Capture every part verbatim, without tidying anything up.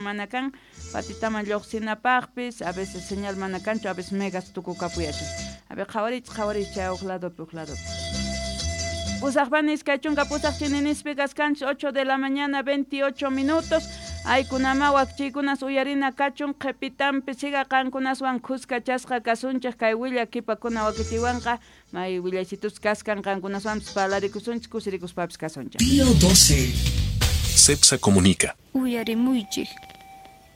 mana kan, patitaman lluqsinapaqpis, a veces señal mana kanchu, a veces megas tukukapuyachin. A ver, qhawarich, qhawarich chay uq ladopi, uq ladopi. Pusaqpani iskay chunka pusaq chininispi kaskanchis ocho de la mañana veintiocho minutos. Aykunama wakchiykunas uyarina kachun qhipitanpi siga qankunaswan khuskachasqa kasunchik kay willakipakuna wakichiwanqa may willaysitus kaskan qankunaswanpis parlarikusunchik kusirikuspapis kasunchik. Pío doce. Cepsa comunica. Uyarimuychik.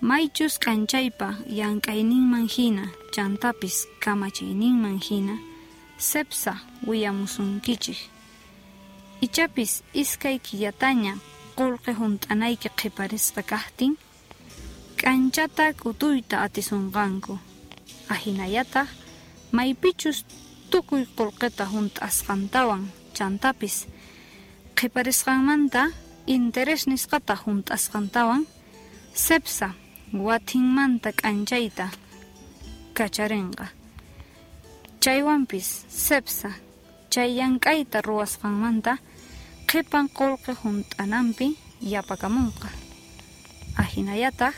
Maychus k'anchaypa llank'ayninman hina chantapis kamachiyninman hina Cepsa willamusunkichik. Ichapis iskay killataña qullqi hunt'anayki qhiparisqa kaqtin k'anchata k'utuyta atisunqanku. Ahinallataq maypichus tukuy qullqita hunt'asqantawan chantapis qhiparisqanmanta interés nisqata hunt'asqantawan Cepsa watinmanta k'anchayta kacharinqa. Chaywanpis Cepsa chay llank'ayta ruwasqanmanta qhipan qullqi hunt'ananpi yapakamunqa. Ahinallataq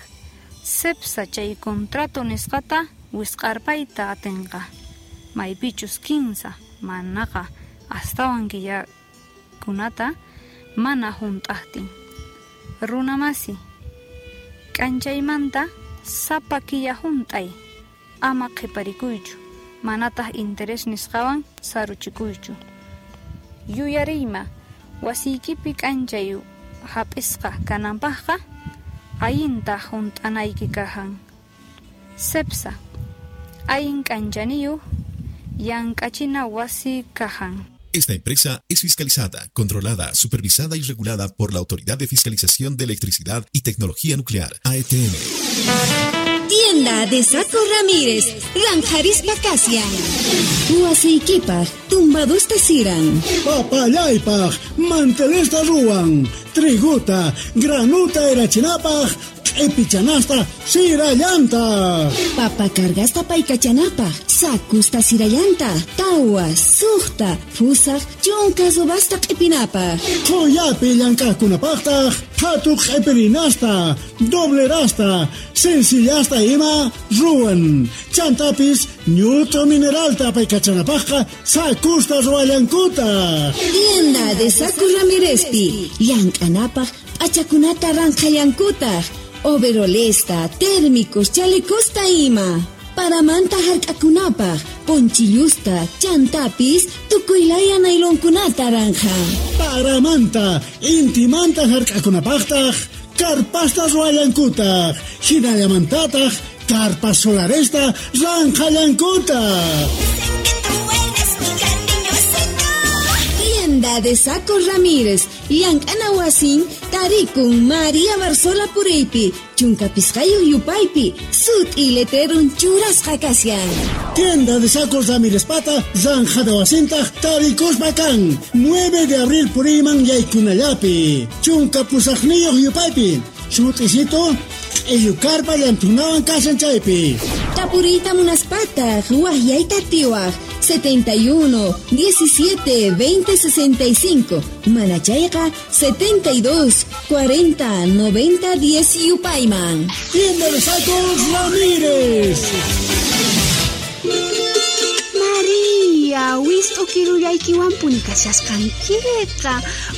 Cepsa chay contrato nisqata wisq'arpayta atinqa. Maypichus kinsa manaqa astawan killakunata mana hunt'aqtin. Runamasi k'anchaymanta sapa killa hunt'ay ama qhiparikuychu manataq interés nisqawan saruchikuychu. Yuyariyma wasiykipi k'anchay hap'isqa kananpaqqa allinta hunt'anayki kajan. Cepsa allin k'anchaniyuq llank'achina wasi kajan. Esta empresa es fiscalizada, controlada, supervisada y regulada por la Autoridad de Fiscalización de Electricidad y Tecnología Nuclear, A E T N. Tienda de Saco Ramírez, Ranjarispa Casia. Huasiykipaj, tumbadusta siran. Papallaypaj, mantelesta ruwan. Triguta, granuta erachinapaj, q'ipichanasta sirallanta. Papa cargasta paykachanapaj, sakusta sirallanta, tawa, suqta, fusaq, chunka subasta q'ipinapaj. Qhuyapi llank'aqkunapaqtaq, qhatu q'ipirinasta, doblerasta, sencillasta ima ruwan. Chantapis ñut'u mineralta paykachanapaqqa sakusta ruwallankuta. Tienda de Saco Ramírezpi, llank'anapaj p'achakunata ranqhallankutaq. Overolesta, térmicos, chalecosta ima. Paramanta hark'akunapaj, ponchillusta, chantapis, tukuylaya nailonkunata ranja. Paramanta, intimanta hark'akunapaqtaq, karpasta ruwallankutaq, hinallamantataq, karpas solaresta ranqhallankutaq. Tienda de Saco Ramírez, llank'ana wasin, tarikun María Barzola Puriypi, chunka pisqayuq yupaypi, sut'i letrerun churasqa kashan. Tienda de Sacos Ramírez pata, zanjada wasintaq, tarikuspa kan, nueve de abril Puriyman yaykunallapi, chunka pusaqniyuq yupaypi, sut'isito, q'illukarpa llantunawan kashan chaypi. Tapuriyta munaspataq, waqyayta atiwaq, setenta y uno, diecisiete, veinte, sesenta y cinco, Manachayqa, setenta y dos, cuarenta, noventa, diez yupayman. Tienda de Sacos Ramírez. María, wist'u kirullaykiwanpuni kashasqankiqa,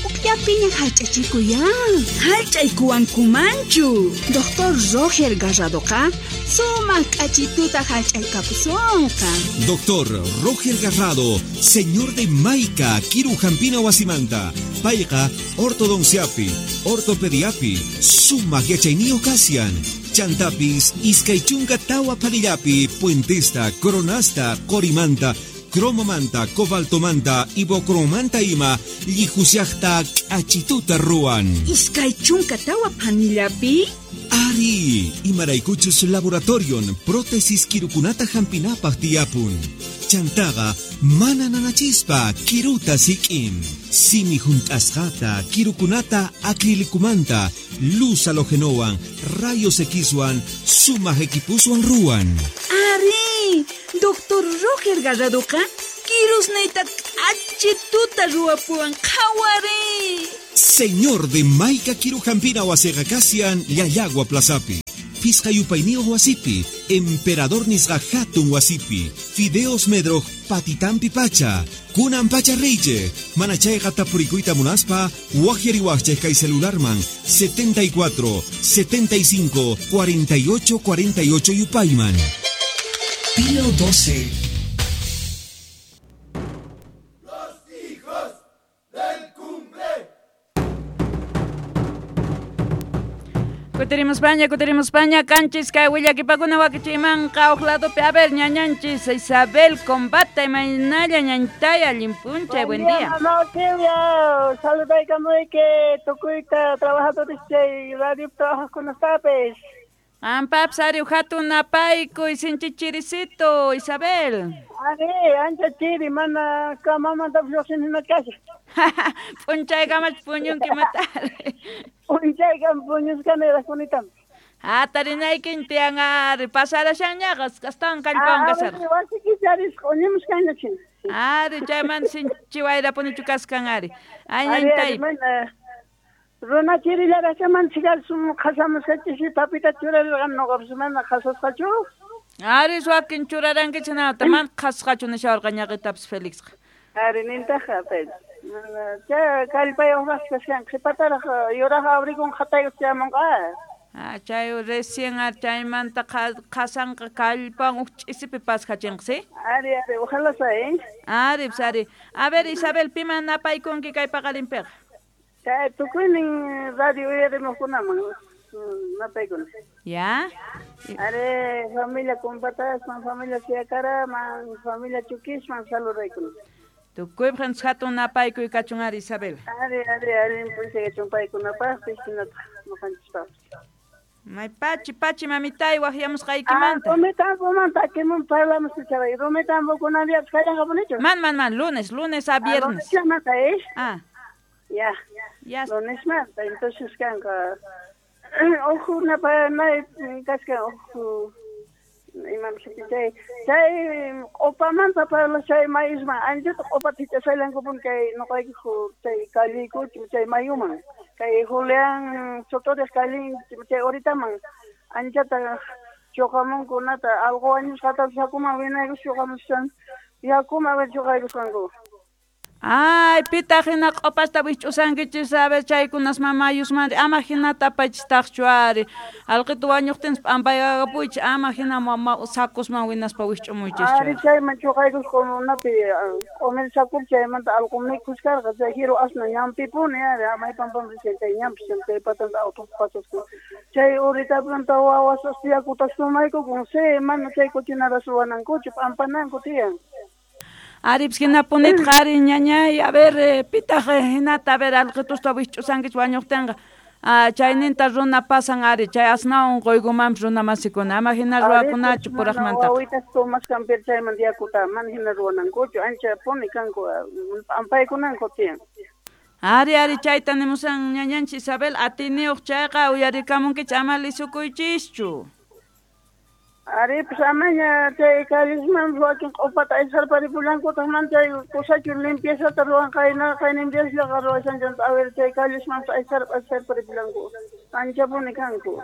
ukllapiña hallch'achikuyan. Hallch'aykuwankumanchu. Doctor Roger Garradoqa sumaq k'achituta hallch'aykapusunqa. Doctor Roger Garrado, señor de Maica, Kirujampina wasimanta, payqa ortodonciapi, ortopediapi, sumaq yachayniyuq kashan. Chantapis, iskay chunka tawa panillapi, puentesta, coronasta, qorimanta, cromomanta, cobaltomanta, ibocromanta ima, llijusiaqta k'achituta ruwan. Iskay chunka tawa panillapi? Ari, imaraykuchus laboratorion, prótesis kirukunata hampinapaq tiyapun. Chantaqa mana nanachispa kiruta sik'in. Simi hunt'asqata, kirukunata acrilicumanta, luz halogenowan, rayos Xwan, sumaq equipuswan ruwan. Ari, Doctor Roger Garradoqa kirusniyta k'achituta ruwapuwan qhawari. Señor de Maica Kirujampina wasiqa kashan Llallagua Plazapi. Phisqa yupayniyuq wasipi, Emperador nisqa hatun wasipi, Fideos Medroj patitampi pacha, kunan pacha riychej, mana chayqa tapurikuyta munaspa, waqyariwaqchej kay celularman setenta y cuatro, setenta y cinco, cuarenta y ocho, cuarenta y ocho yupayman. Pío doce. Kuterimos paña, kuterimos paña, kanchis kay willakipakuna wakichimanqa uq ladopi. A ver, ñañanchis Isabel Combate, imaynalla ñañtaya, allin p'unchay, buen día. Mamá Silvia, saludaykamuyki tukuyta trabajadores chay radio trabajaqkunatapis. Ampaps ari hatun napaykuy sinchichirisito, Isabel. Ari, ancha chiri, mana kamamantapis lluqsini hina kashan. P'unchaykamach puñunki matari. P'unchaykama puñusqani raqkunitam. Ah, tarinaykin tiyan ari, pasarashanñaqa, astawan kallpawan kasharqa. Wasiykipi ari q'uñimusqaña china. Ari, chaymanta sinchi wayrapunichu kaskan ari. Ay, ñañtay. Runa chirillarashaman chikalsum qhasamusqachis papita churarirqan noqapis mana qhasasqachu. Ari, wakin churarankichik nata, mana qhasqachu nishawarqa ñaqitapis Felixqa. Ari, nintaqa, chay kallpayuqraq kashan, qhipataraq yuraq abrikun qhatayuq chayamunqa. Ah, chay recién ari chaymanta qhasanqa kallpan uq ch'isipi pasqachinqa, ¿sí? Ari, ari, ojalá sea, ¿eh? Ari, pues, ari. A ver, Isabel, piman napaykunki kay paqarinpiqa? Chay tukuynin radio uyarimuqkunaman napaykuna. Ya? Ari, familia Compatasman, familia Siacaraman, familia Chukisman saludaykuna. Tukuypaq hatun napaykuy kachun ari, Isabel. Ari, ari, allin p'unchay kachun paykunapaqpis hinataq ñuqanchispaqpis. May pachi, pachi mamitay waqyamusqaykimanta. Ah, Rumitambo takimun parlamus chay Rumitambo kunan diapis kallanqapunichu. Man, man, man, lunes, lunes a viernes. Ah, lunesmanta, ¿eh? Ah. Ya. Ya. Lunesmanta, entonces kanqa uj napay kaskan uj imam chay chay q'upamanta parlashay mayusman anchata q'upata hich'ashallankupuni kay ñuqayku chay kalliykuchu chay mayuman kay Julián Sotoriq kallin chay horitaman anchata chuqamunkunata alqu wañusqatapis yakuman winaykus chuqamushan yakuman chuqaykusqanku. Ay, pitaq hina q'upasta wich'usankichis, a ver, chaykunasman mayusman, ama hinata apachistaqchu ari. Alqitu wañuqtinpas p'ampayakapuychis, ama hina sakusman winaspa wich'umuychischu. Ari, chayman chuqaykusqakunapi q'umir sakupi chaymanta alqu mikhuskarqa, chay jiru asna ñampipuni ari, maypanpam rishan chay ñampis chay patanta auto pasasqa. Chay uritapanta wawas yakuta sumaykukun, sí, mana chay cochinara suwanankuchu, p'ampananku tiyan. Ari, pues hinapunitqa ari ñañay, a ver, eh, pitaq hinata, a ver, alqitusta wich'usankichis wañuqtinqa, ah, chayninta runa pasan ari, chay asnawan unquykumanpis runa masikuna, ama hina ruwakunachu puraqmantaqa. Wawitas tomasqanpi chayman yakuta mana hina ruwanankuchu, ancha puni kanku, p'ampaykunanku tiyan. Ari, ari, chayta nimusan ñañanchis Isabel, atiniyuq chayqa uyarikamunkichis, ama lisukuychischu. Ari, pues amaña chay callisman wakin q'upata aysarparipullankutaq man chay kusachu limpiezata ruwan qayna qayninpiasllaqa ruwashanchanta, a ver chay callisman aysar aysarparipullanku anchapuni kanku.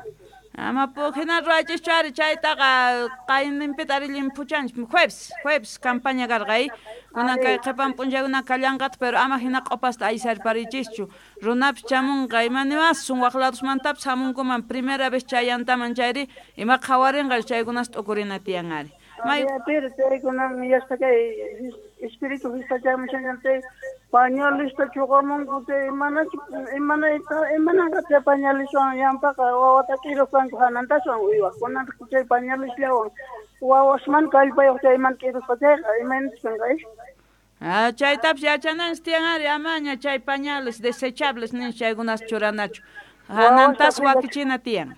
Ama hina ruwaychischu ari chaytaqa qayninpita ari llimphuchanchis jueves, jueves campaña karqa ay kunan kay qhipan p'unchaykuna kallanqataq, pero ama hina q'upasta aysarparichischu runapis chamunqa ima niwasun waq ladosmantapis hamunkuman primera vez chayantaman chayri ima qhawarinqa chaykunas t'ukurina tiyan ari. May pero chaykunan yaspa kay espíritu fiestachamushan chay pañalista chuqamunku chay manachu imanayta imananqa chay pañaliswan yampaqa wawata k'irusqanku hanantaswan uywaqkunata chay pañalisllawan wawasman kallpayuq chayman k'irusqa chayqa imaynachus kanqa. Ah, chaytapis yachananchis tiyan ari amaña chay pañales desechables nin chaykunas churanachu hanantas wakichina tiyan.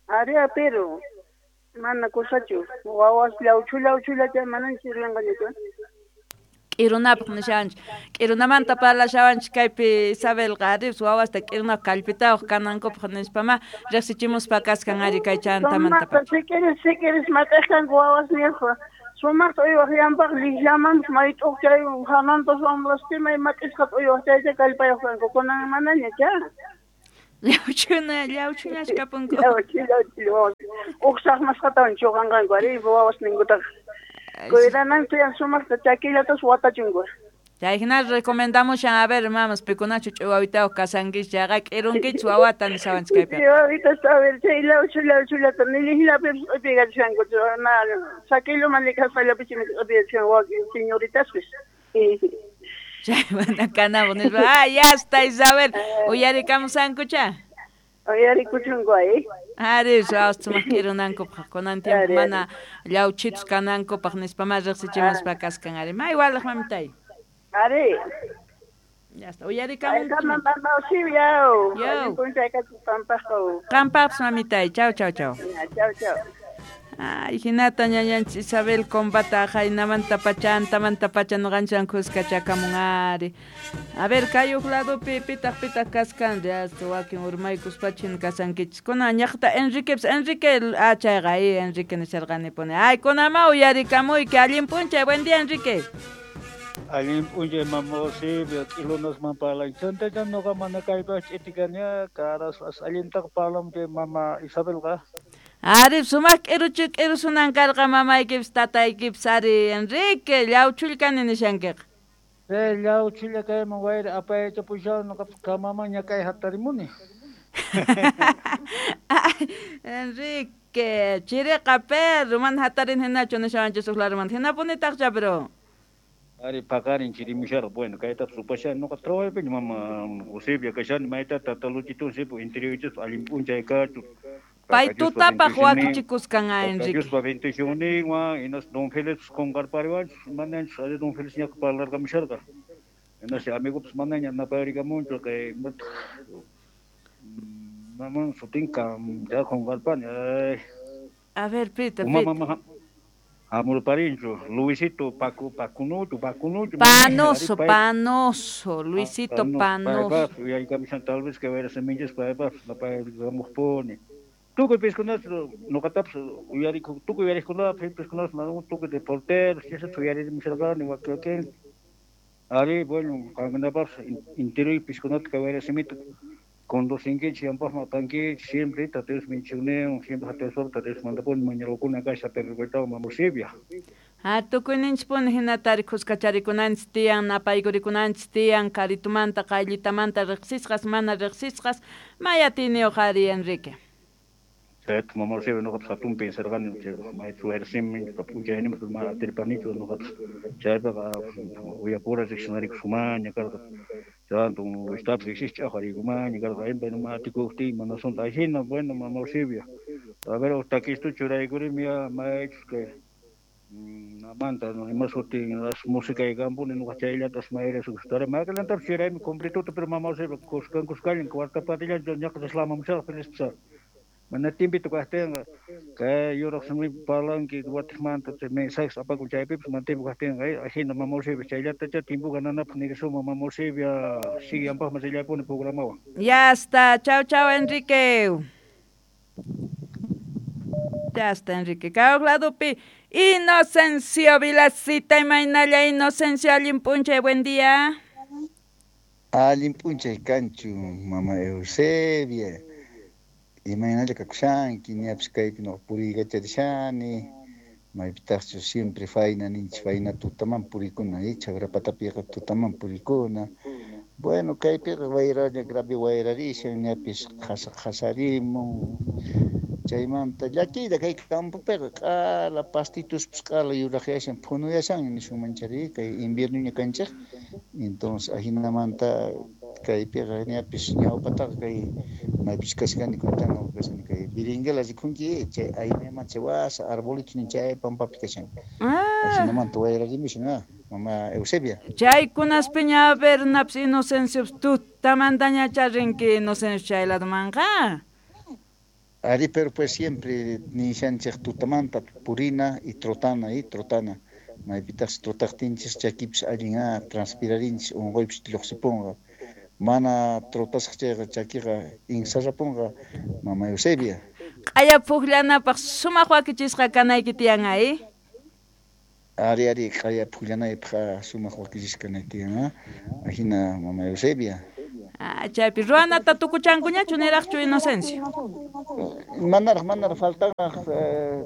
Ari, pero mana kusachu wawas llawchu llawchulla chay manan sirvinqañachu. K'irunapaq nishawanchik, k'irunamanta parlashawanchik kaypi Isabelqa ari wawasta k'irunapaq kallpitawaq kanankupaq nispama riqsichimuspa kaskan ari kay chantamanta. Sikiris sikiris mat'aqkanku wawasniyuq sumaqta uywaq yampaq llikllamanpas mayt'uq chay hanantas wamlastimay mat'isqata uywaq chaycha kallpayuq kanku kunan manaña cha. Llawchuna, llawchuñas kapunku. Llawchu, llawchu wawas. Uj saqmasqatawan chuqanqanku ari wawas ninkutaqa. Cuidananku tiyan sumaqta chakillatas watachunku. Chay hina recomendamos a ver mamas pikunachu ch'iwawitayuq kasankichis chayqa k'irunkichis wawata nishawanchis kaypiqa. Ch'iwawitasta a ver chay llawchu llawchullata nillihlapipas q'ipiykachisanku na sakilluman likaspallapichmi q'ipiyachishanku wakin señoritaspis. Chay mana kanapaq nispa ah ya está Isabel uyarikamusankucha. Uyarikuchunku ay. Ari wawas sumaq k'irunankupaq kunan tiempo mana llawchitus kanankupaq nispa ma riqsichimuspa kaskan ari may walaq mamitay. Ari. Ya está. Uyarikamunki. Mama Eusebia. Allin p'unchay kachun qampaqqa. Qampaqpas mamitay. Chau chau chau. Chau chau. Ay, hinata ñañanchis Isabel combata jaynamanta pacha antamanta pacha noqanchis kuskachakamun ari. A ver, kay uq ladopi pitaq pitaq kaskan ya wakin urmaykuspachin kasankichis. Kunan ñaqta Enriquepis Enrique ah chayqa ay Enrique nisharqanipuni. Ay, kunama uyarikamuyki allin p'unchay. Buen día, Enrique. Allin p'unchay mama Eusebia k'ilunasman parlan chantachan noqa mana kaypaq ch'itikania caras as allintaqa parlan chay mama Isabelqa. Ari sumaq k'iruchu k'irusunan karqa mamaykipis tataykipis ari Enrique llawchullkani nishankiqa. Chay llawchulla kayman wayra apayachapushan noqapis kamaman ñakay hatarimuni. Enrique chiriqa perro mana hatarin hinachu nishawanchis uq larumanta hinapunitaqcha pero. Ari paqarin chirimusharqa bueno kaytapas rupashani noqa trabajaypiña mama Eusebia kashani mayta tata Luchito sipu interiorchis allin p'unchay kachun. Pay tutapaq wakichikuskan a Enrique. Diospa bendicionninwan hinas don Félix qunqarpariwanchis mananchis ari don Félix ñaqa parlarqamusharqa. Hinas amigopis manaña napayarikamunchu kay maman sutinka ya qunqarpani ay. A ver, pita, Uma pita. mama hamurparinchu Luisito Paco Pacunucho Pacunucho Panoso, Panoso, Luisito Panoso. Uyarikamushan tal vez que wayra semillas paypas napayarikamuqpuni. Tukuy piskunas noqatapas uyariku tukuy uyariqkunapas piskunas tukuy de porteros chayta uyarimusharqani wakin ari bueno qankunapas interior piskunata kay wayra simita conducinkichis yanpaqman apankichis siempre Tata Dios bendicionninwan siempre Tata Dios Tata Dios mandapuni mañarukuna kasha perrukuytawan mama Eusebia. Ah, tukuyninchispuni hinata ari kuskacharikunanchis tiyan napaykurikunanchis tiyan karitumanta qayllitamanta riqsisqas mana riqsisqas may atiyniyuq ari Enrique. Chayta mama Eusebia noqapas hatun pensarqani chay maychu wayra simi p'unchayninpas mana atirpanichu noqapas chaypiqa uyapura riqsinarikusumaña karqa chanto estapis riqsisqa ch'aqwariykumaña karqa impa mana atikuqtiy mana asunto ahina bueno mama Eusebia a ver uq takistu churaykurimi ya maychus kay namanta ima sutin as música kampuni noqa chayllatas mayras gustara mayqillantapis churaymi completuta pero mama Eusebia kuskan kuskallan cuarta patillanchu ñaqa taslamamusharqa nispa mana tiempito kaqtinqa kay yuraq simipi parlanki watiqmanta chay mensajes apakun chaypipas mana tiempo kaqtinqa ahina mama Eusebia chayllatacha tiempo gananapaq nirisuma mama Eusebia sigue yanpaqman rillapuni programawan. Ya está, chau chau Enrique. Ya está Enrique. Kay uq ladopi Inocencio Vilacita imaynalla Inocencio allin p'unchay buen día. Allin p'unchay kanchu mama Eusebia. Imaynalla kakushanki ñapis kaypi noqa puriykacharishani maypitaqchu siempre fayna ninchis fayna tutaman purikuna chagra patapiqa tutaman purikuna. Bueno kaypiqa wayralla grave wayrarishan ñapis qhasa qhasarimun chaymanta llakiyta kay campopiqa q'ala pastituspas q'ala yuraqyashan phunuyashan nisunman chari kay inviernoña kanchik entonces ahinamanta kaypiqa ñapis ñawpataqa kay maypis kashkani kuntana kashani kay biringela rikunki chay aynaman chay wasa arbolito nin chay pampapi kashan ahinamanta wayrarimushan ah mama Eusebia. Chaykunaspiña a ver napis Inocencio tutamantañacha rinki Inocencio chay ladomanqa. Ari, pero pues siempre nishanchik tutamanta purina y trotana y trotana. Maypitaq trotaqtinchis chakipis allin ah transpirarinchis unquypis lluqsipunqa. Mana trotasaq chayqa chakiqa insarrapunqa mama Eusebia. Q'aya puqllanapaq sumaq wakichisqa kanayki tiyan ay. Ari ari q'aya puqllanaypaq sumaq wakichisqa kanay tiyan ah. Ahina mama Eusebia. Ah, chaypi ruwanata tukuchankuñachu niraqchu Inocencio? Manaraq manaraq faltanaq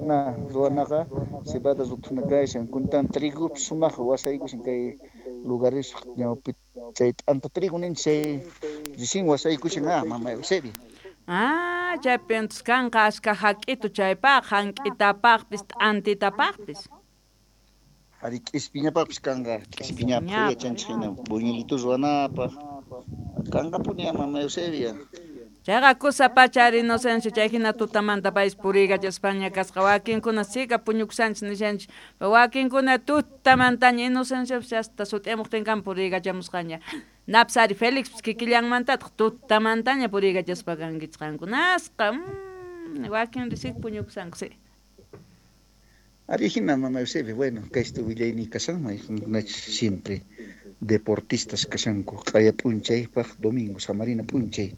na ruwanaqa cebada ruthuna kashan kuntan trigopis sumaq wasaykushan kay lugares ñawpi chay t'anta trigo ninchik chay recién wasaykushan ah mama Eusebia. Ah, chaypi entonces kanqa ashka hak'itu chaypaq hank'itapaqpis t'antitapaqpis. Ari k'ispiñapaqpis kanqa k'ispiñapaq yachanchik hina buñuelitu ruwanapaq kanqapuni mama Eusebia. Chayqa kusa pacha ari Inocencio chay hina tutamanta payis puriykachaspaña kasqa wakinkuna sika puñukushanchik nishanchik wakinkuna tutamantaña Inocenciopis hasta sut'iyamuqtinkan puriykachamusqaña napis ari Felixpis kikillanmantataq tutamantaña puriykachaspa kankichik qankunasqa mm, wakin risik puñukushanku si. Ari hina mama Eusebia, bueno, kaysta willayni kashanman siempre deportistas kashanku q'aya p'unchaypaq domingo samarina p'unchay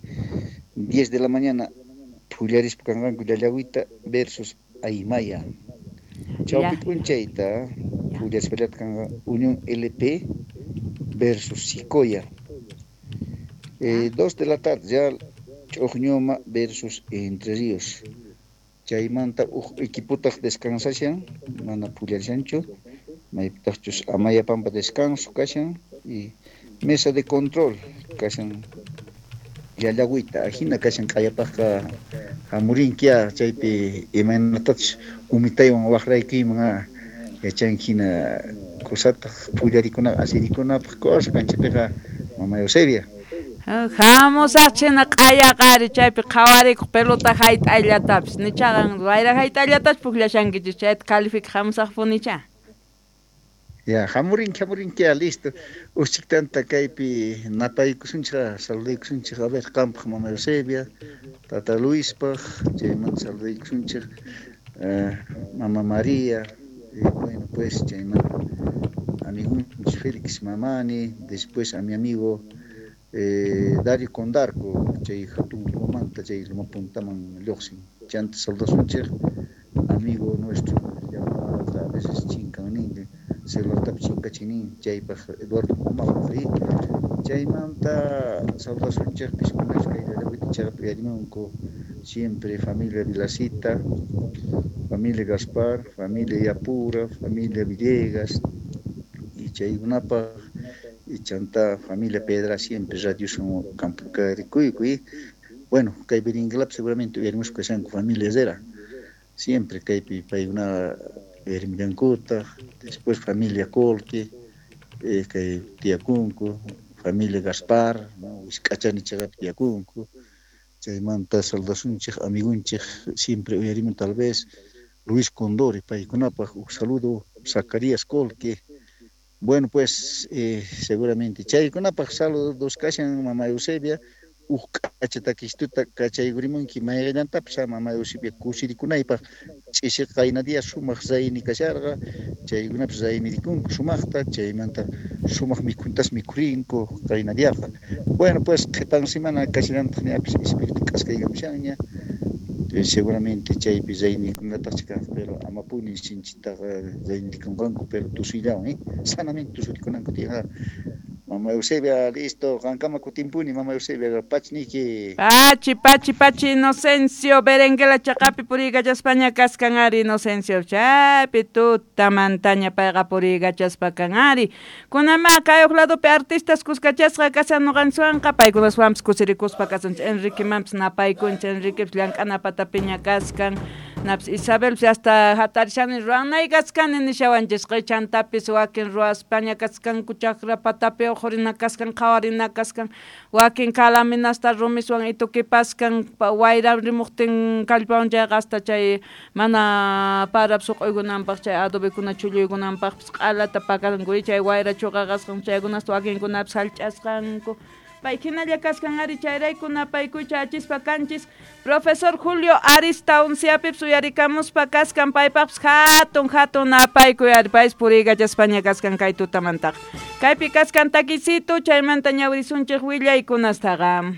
diez de la mañana phullarispa kanqanku Llallawita versus Aymaya chawpi p'unchayta phullarispallata kanqa Unión L P versus Sicoya eh, dos de la tarde ya Ch'uqñuma versus Entre Ríos chaymanta uj equipotaq descansashan mana phullarishanchu maypitaqchus Amayapampa descanso kashan y mesa de control kashan Llallawita ajina kashan q'ayapaqqa hamurinkia chaypi imaynatachus umitaywan waqraykuyman yachanki hina kusataq phullarikunapaq asirikunapaq cosa kanchapiqa mama Eusebia. Hamusaq china q'ayaqa ari chaypi qhawarikuq pelota hayt'ayllatapis nichaqa wayra hayt'ayllatachu pukllashankichis chayta califica hamusaqpunicha. Ya, hamurinki, hamurinki, listo. Uchiktanta kaypi napaykusunchik, saludaykusunchik, a ver, qampaq mama Eusebia, tata Luispaq, chaymanta saludaykusunchik, uh, mama María, y bueno, pues, chaymanta amigunchik Félix Mamani, después a mi amigo eh, Dario Condarco, chay hatun lumamanta, chay lumapuntaman lluqsin, chanta saludasunchik, amigo nuestro, llamado a veces chinkan nin, celulartapi chinkachinin chaypaq Eduardo Pumapaq chaymanta saludasunchik piskunash kay Llallawita chaypi uyarimunku siempre familia Vilacita, familia Gaspar, familia Yapura, familia Villegas y chaykunapaq y chanta familia Pedra siempre radio son campo rikuyku. Bueno, kay Berenguelapi seguramente uyarimusqa kashanku familia Herrera siempre kaypi paykuna uyarimullankutaq, después familia Colque, eh, kay tiyakunku, familia Gaspar, no, Wisk'achani chaypi tiyakunku, chaymanta saludasunchik amigunchik siempre uyarimun tal vez Luis Condori, paykunapaq un saludo, Zacarías Colque. Bueno, pues eh, seguramente chaykunapaq saludos kashan mama Eusebia, uj k'acha takistuta kachaykurimunki mayqallantapis mama Eusebia kusirikunaypaq ch'isi qayna día sumaq raymi kasharqa chaykunapis raymirikunku sumaqta chaymanta sumaq mikhuntas mikhurinku qayna diaqa. Bueno, pues qhipan semana kashallantaq ñapis espíritu k'askaykamushanña seguramente chaypi raymikunataqchi kanqa pero amapuni sinchitaqa raymirikunqanku pero tusuyllawan eh sanamente tusurikunanku tiyan. Mama Eusebia, listo, qankama kutimpuni, mama Eusebia, pachniki. Pachi, pachi, pachi, Inocencio, Berenguela chaqapi puriykachaspaña kaskan ari, Inocencio, chaypi tutamantaña payqa puriykachaspa kan ari. Kunama kay uq ladopi artistas kuskachasqa kashan nuqanchikwanqa, paykunaswanpis kusirikuspa kasanchik, Enriquemanpis napaykunchik, Enriquepis llank'ana patapiña kaskan, napis Isabelpis hasta hatarishani ruwanay kaskani nishawanchisqa, chantapis wakin ruwaspaña kaskanku chakra patapi uqurina kaskan, qhawarina kaskan, wakin kalaminasta rumiswan itukipaskan, wayra rimuqtin kallpawan chayqa hasta chay mana parap suq'uykunanpaq chay adobekuna chulluykunanpaqpis q'alata pakanku, chay wayra chuqaqasqan chaykunasta wakinkunapis hallch'asqanku. Pay hinalla kaskan ari chayrayku napaykucha achispa kanchis Profesor Julio Arista unciapipis uyarikamuspa kaskan paypaqpis hatun hatun napaykuy ari paypis puriykachaspaña kaskan kay tutamantaqa. Kaypi kaskan takisito chaymanta ñawirisunchik willaykunastaqa.